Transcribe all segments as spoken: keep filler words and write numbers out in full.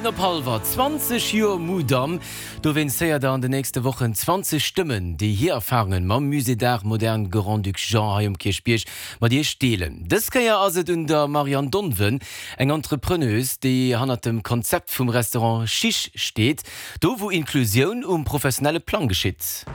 Op hallwer zwanzeg Joer Mudam, dowéinst héiert der an de nächste Wochen zwanzeg Stëmmen, déi hir Erfarunge mam Musée d'Art Moderne Grand-Duc Jean hei um Kierchbierg mat iech deelen. Dës Kéier ass et un der Marianne Donven, eng Entrepreneuse, déi hannert dem Konzept vum Restaurant Chiche steet, do wou Inklusioun um professionelle Plang geschitt.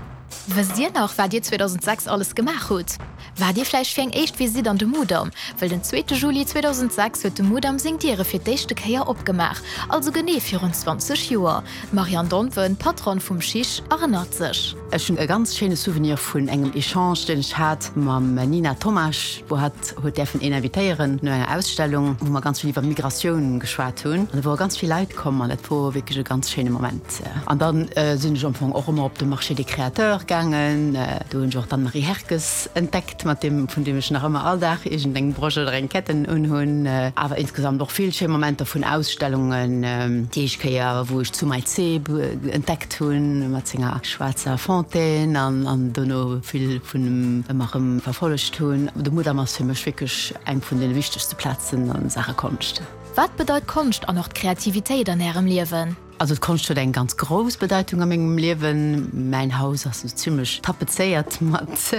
Wësst Dir nach, wat Dir zweedausendsechs alles gemaach hutt? Waart Dir vläicht fir eng éischt Visitt an de Mudam? Well den zweete Juli zweedausendsechs huet de Mudam seng Diere fir d'éischte Kéier opgemaach, also genee virun zwanzeg Joer. D'Marianne Donven, Patronne vum Chiche, erënnert sech. Ech hunn e ganz schéine Souvenir vun engem Echange, deen ech hat mam Nina Tomasch, wou hatt huet däerfen een invitéieren no enger Ausstellung, wou mer ganz vill iwwer Migratioun geschwat hunn. An do wore ganz vill Leit komm an dat wor wierklech e ganz schéine Moment. An dann sinn ech am Fong och ëmmer op de Marché des Créateurs gaangen. Do hunn ech och d'Anne-Marie Herckes entdeckt, mat deem, vun deem ech nach ëmmer all Dag iergendeng Brosch oder eng Ketten unhunn. Awer insgesamt och vill schéi Momenter vun Ausstellungen. Déi éischt Kéier, wou ech d'Sumay Zeeb entdeckt hunn, mat senger schwaarzer Fontaine an, an dono vill vun em ëmmer erëm verfollegt hunn. De Mudam ass fir mech wierklech eng vun de wichtegste Plazen a Saache Konscht. Wat bedeit Konscht an och d'Kreativitéit an Ärem Liewen? Also d'Konscht huet eng ganz grouss Bedeitung a mengem Liewen. Mäin Haus ass esou zimmlech tapezéiert mat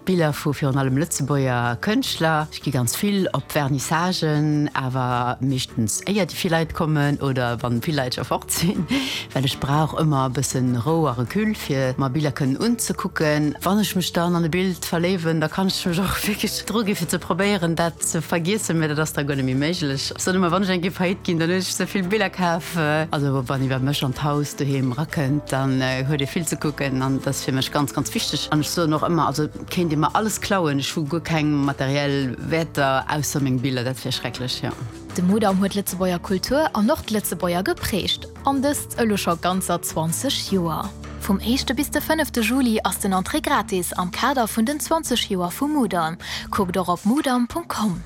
Biller vu virun allem Lëtzebuerger Kënschtler. Ech gi ganz vill op Vernissagen, awer meeschtens éier déi vill Leit kommen oder wann vill Leit scho fort sinn, well ech brauch ëmmer e bëssen Rou a Recul fir mer Biller kënnen unzekucken. Wann ech mech dann an e Bild verléiwen, da kann ech mech och wierklech dru gi fir ze probéieren dat ze vergiessen, mä dat ass da guer net méi méiglech. Ech soen ëmmer, wann ech eng Kéier faillite ginn, dann hunn ech ze vill Biller kaf. Also wann ee bei mech an d'Haus doheem erakënnt, dann huet ee vill ze kucken an dat ass fir mech ganz, ganz wichteg. An ech soen och ëmmer, also kéint ee mer alles klauen, ech hu guer keng materiell Wäerter ausser meng Biller, dat wär schrecklech, jo. De Mudam huet d'Lëtzebuerger Kultur an och d'Lëtzebuerger geprägt, an dëst elo scho ganzer zwanzeg Joer. Vum éischte bis de fënnefte Juli ass den Entrée gratis am Kader vun den zwanzeg Joer vum Mudam. Kuckt och op mudam Punkt com.